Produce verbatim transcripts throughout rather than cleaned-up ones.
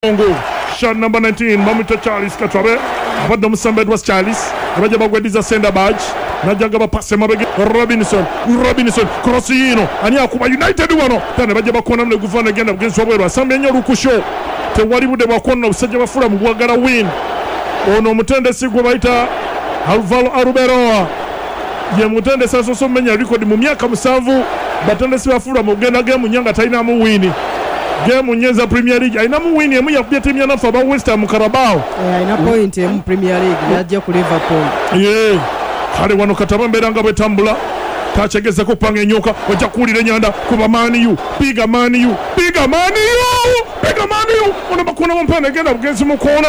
Shot number nineteen, bamwita Charles Katwabe. Abadde omusambi Edwards Charles. Abajja bagwediza Senda Badge. Najja gaba pass emabega Robinson. Robinson cross yino. Ani akuba United wano. Tena bajja bakona mle guvana genda bugenzi wabweru. Asambye nnyo olukusho. Tewali budde bwakona obusajja bafula mu bwagala win. Ono omutendesi gwe bayita Alvaro Arbeloa. Ye mutendesi asoose omumenya record mu myaka musanvu. Batendesi bafula mu kugenda game nnya nga talinamu win. Game nyeza Premier League alinamu win emu yakubye ttiimu ya naffe aba West Ham Carabao. Eh, alina point emu Premier League yajja ku Liverpool. Yeah. Kale wano kataba mbeera nga bwetambula takyegezako kupanga enyoka ojja kuwulira enyanda kuba Man U piga Man U piga Man U piga Man U ono bakona omupiira negenda bugenzi mu koona.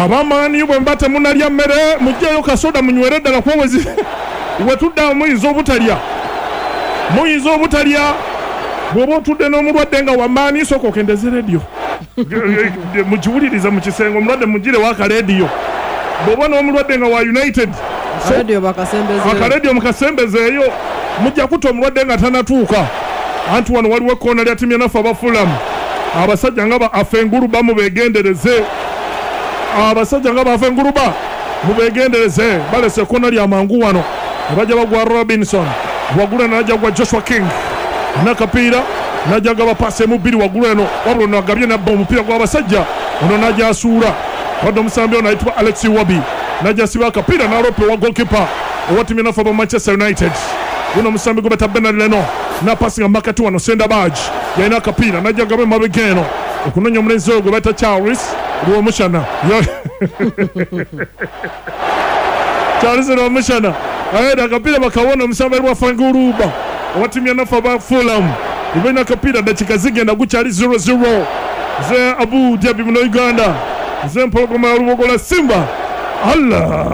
Aba Man U bwe mba temunalya mmere mugyeyo kasoda munywere ddala kuba wetudda muyinza obutalya muyinza obutalya bw'oba otudde n'omulwadde nga wa Man U sooka okendeze rediyo mugiwulirize mu kisenge omulwadde mugire w'akalediyo bw'oba n'omulwadde nga wa United akarediyo mukasembezeeyo mujja kutta omulwadde nga tanatuuka. Anti wano waliwo ekkoona lya ttiimu ya naffe aba Fulham. Abasajja nga ba Afenguruba mubeegendereze, abasajja nga ba Afenguruba mubeegendereze, balese ekkoona lya mangu wano. Bajja bagwa Robinson waggulu n'ajja gwa Joshua King n'akapiira n'ajja gaba paasi emu bbiri waggulu eno wabula ono agabye n'abba omupiira gw'abasajja ono n'ajja asuula wadde omusambi ono ayitibwa Alex Iwobi n'ajja asiba akapiira n'alopa owa goalkeeper owa ttiimu ya naffe aba Manchester United. Guno omusambi gwe bayita Bernard Leno n'apasinga makati wano Senda Badge yalina akapiira n'ajja gaba emabega eno okunoonya omulenzi oyo gwe bayita Charles Rwomushana. Charles Rwomushana aenda akapiira bakawona omusambi wa Fanguruba owa ttiimu ya naffe aba Fulham. Ibalina akapiira dakika zigenda gukyali zero zero. Nze Abu Dhabi muno Uganda, nze Mpologoma ya Lubogola Simba. Allah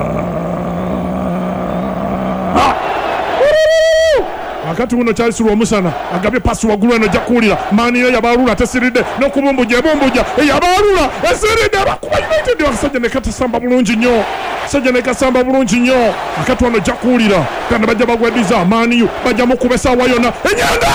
akati wuno Charles Rwomushana agabye pasi waggulu eno ojja kuwulira Man U yabalula tesiridde n'okubumbuja ebumbuja eyabalula esiridde abakuba United abasajja ne katasamba bulungi nnyo sajja ne kasamba bulungi nnyo akati wano ojja kuwulira kandi bajja bagwediza Man U bajja mukuba essaawa yonna enyanda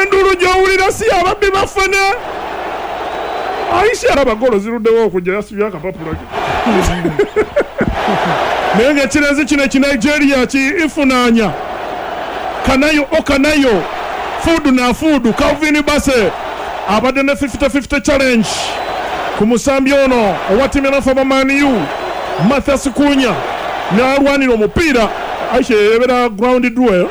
endulu gy'owulira si ababbi bafene. Aisha alaba golo ziruddewo okujja yasibye akapapula ke naye ng'ekirenzi kino ekinigeria ki ifunaanya kanayo okanayo fudu na fudu Calvin Bassey abadde ne fifty fifty challenge ku musambi ono owa ttiimu ya naffe aba Man U Mathias Cunha n'alwanira omupiira. Aisha ebeera ground duel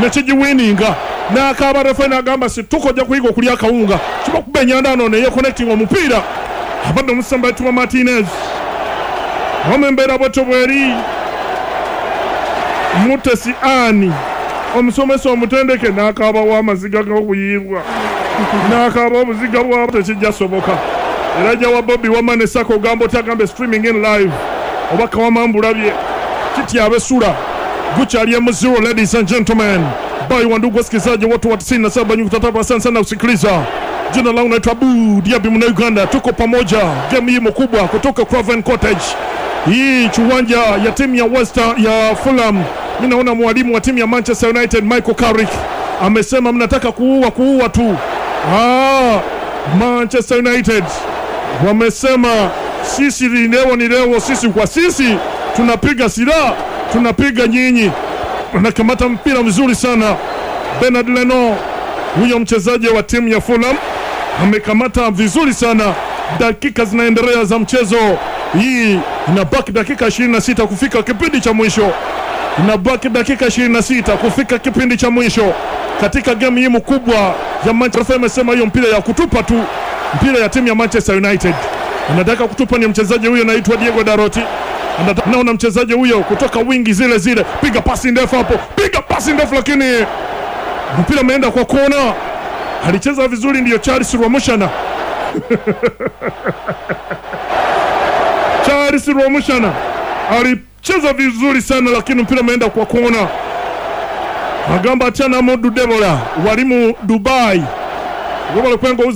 nekigiwininga n'akaaba refa n'agamba situka ojja kuyiga okulya akawunga kibakuba enyanda ano neyeconnecting omupiira abadde omusambi ayitibwa Martinez. Wama embeera bwetyo bweri Mutesi Ani omusomesa omutendeke n'akaabawo amaziga g'okuyiibwa n'akaaba obuziga bwabo tekijja soboka. Era ajja wa Bobby wamma ne Sako ogamba otagambe streaming in live oba kawama mbulabye kityaba essula gukyali emu zero. Ladies and gentlemen, bye wandugu wasikilizaji wote wa tisini na saba nukta tatu, asante sana kusikiliza. Jina langu naitwa Abu Diaby mna Uganda, tuko pamoja game hii mkubwa kutoka Craven Cottage, hii kiwanja ya timu ya West ya Fulham. Mimi naona mwalimu wa timu ya Manchester United Michael Carrick amesema mnataka kuua kuua tu. Ah, Manchester United wamesema sisi leo ni leo, sisi kwa sisi tunapiga silaha, tunapiga nyinyi. Anakamata mpira mzuri sana Bernard Leno, huyo mchezaji wa timu ya Fulham amekamata vizuri sana. Dakika zinaendelea za mchezo hii, inabaki dakika ishirini na sita kufika kipindi cha mwisho, inabaki dakika ishirini na sita kufika kipindi cha mwisho katika game hii mkubwa ya Manchester. Amesema hiyo mpira ya kutupa tu, mpira ya timu ya Manchester United anataka kutupa ni mchezaji huyo anaitwa Diego Dalot. Naona mchezaji huyo kutoka wingi zile zile, piga pasi ndefu hapo, piga pasi ndefu lakini mpira umeenda kwa kona. Alicheza vizuri ndiyo Charles Rwomushana. Charles Rwomushana alicheza vizuri sana lakini mpira umeenda kwa kona. Agamba achana Modu Debola walimu Dubai Wabale kwengo uza